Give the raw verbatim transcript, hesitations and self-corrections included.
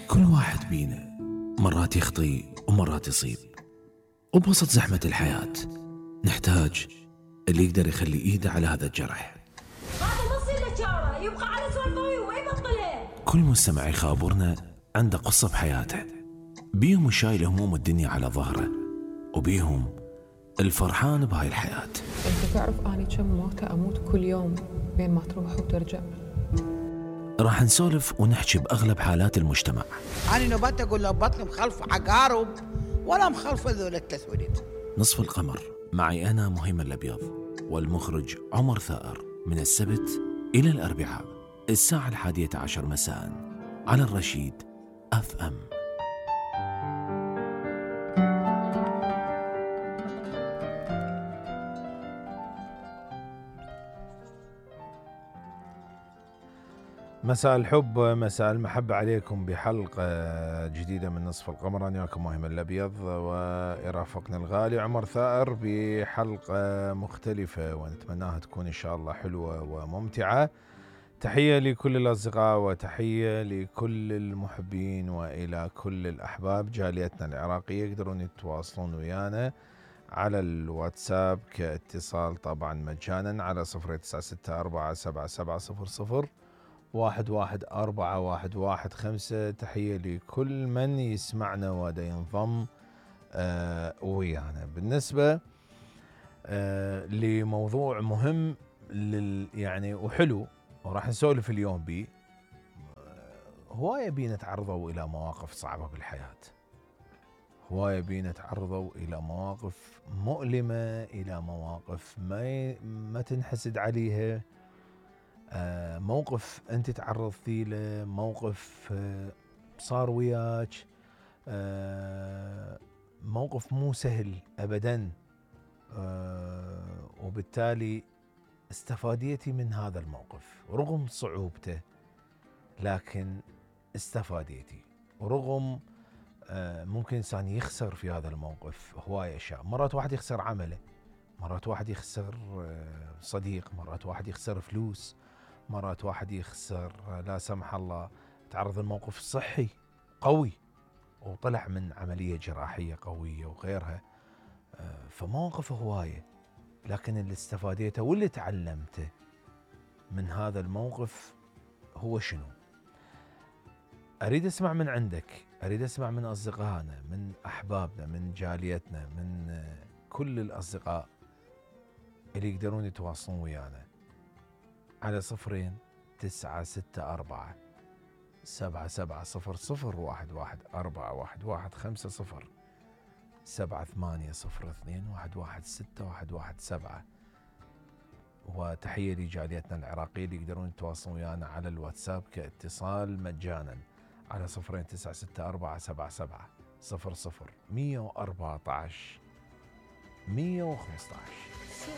كل واحد بينا مرات يخطي ومرات يصيب، وبوسط زحمة الحياة نحتاج اللي يقدر يخلي ايده على هذا الجرح. هذا ما يصير له شاره، يبقى على سوالفه وما يبطلها. كل مستمع يخابرنا عنده قصة بحياته، بيهم الشايل هموم الدنيا على ظهره، وبيهم الفرحان بهاي الحياة. انت تعرف اني كم موتة اموت كل يوم بين ما تروح وترجع. راح نسولف ونحكي بأغلب حالات المجتمع. أنا نبات أقول له بطني مخلف عقارب ولا مخلف ذول الثلاث وليد. نصف القمر معي أنا مهيمن الأبيض والمخرج عمر ثائر، من السبت إلى الأربعاء الساعة الحادية عشر مساء على الرشيد أف أم. مساء الحب، مساء المحبة عليكم بحلقة جديدة من نصف القمر. أنا وياكم مهيمن الأبيض ويرافقنا الغالي عمر ثائر بحلقة مختلفة ونتمناها تكون إن شاء الله حلوة وممتعة. تحية لكل الأصدقاء وتحية لكل المحبين وإلى كل الأحباب. جاليتنا العراقية يقدرون يتواصلون ويانا على الواتساب كاتصال طبعا مجانا على صفر تسعة ستة أربعة سبعة سبعة صفر صفر واحد واحد أربعة واحد واحد خمسة. تحية لكل من يسمعنا ودا ينضم آه ويانا. بالنسبة آه لموضوع مهم لل يعني وحلو وراح نسولف اليوم بيه. آه هواية بينا تعرضوا إلى مواقف صعبة بالحياة، هواية بينا تعرضوا إلى مواقف مؤلمة، إلى مواقف ما ما تنحسد عليها. آه موقف أنت تعرضتي له، موقف آه صار وياك، آه موقف مو سهل أبدا، آه وبالتالي استفاديتي من هذا الموقف رغم صعوبته، لكن استفاديتي. ورغم آه ممكن إنسان يخسر في هذا الموقف هواية أشياء. مرات واحد يخسر عمله، مرات واحد يخسر آه صديق، مرات واحد يخسر فلوس، مرات واحد يخسر لا سمح الله تعرض الموقف الصحي قوي وطلع من عملية جراحية قوية وغيرها. فمواقف هواية، لكن اللي استفاديته واللي تعلمته من هذا الموقف هو شنو؟ أريد أسمع من عندك، أريد أسمع من أصدقائنا، من أحبابنا، من جاليتنا، من كل الأصدقاء اللي يقدرون يتواصلون ويانا على صفرين تسعة ستة أربعة سبعة سبعة صفر صفر واحد واحد أربعة واحد واحد خمسة صفر سبعة ثمانية صفر اثنين واحد واحد ستة واحد واحد سبعة. وتحية لجاليتنا العراقية اللي يقدرون يتواصلون ويانا على الواتساب كاتصال مجانا على صفرين تسعة ستة أربعة سبعة سبعة صفر صفر مية وأربعة عشر مية وخمسة عشر.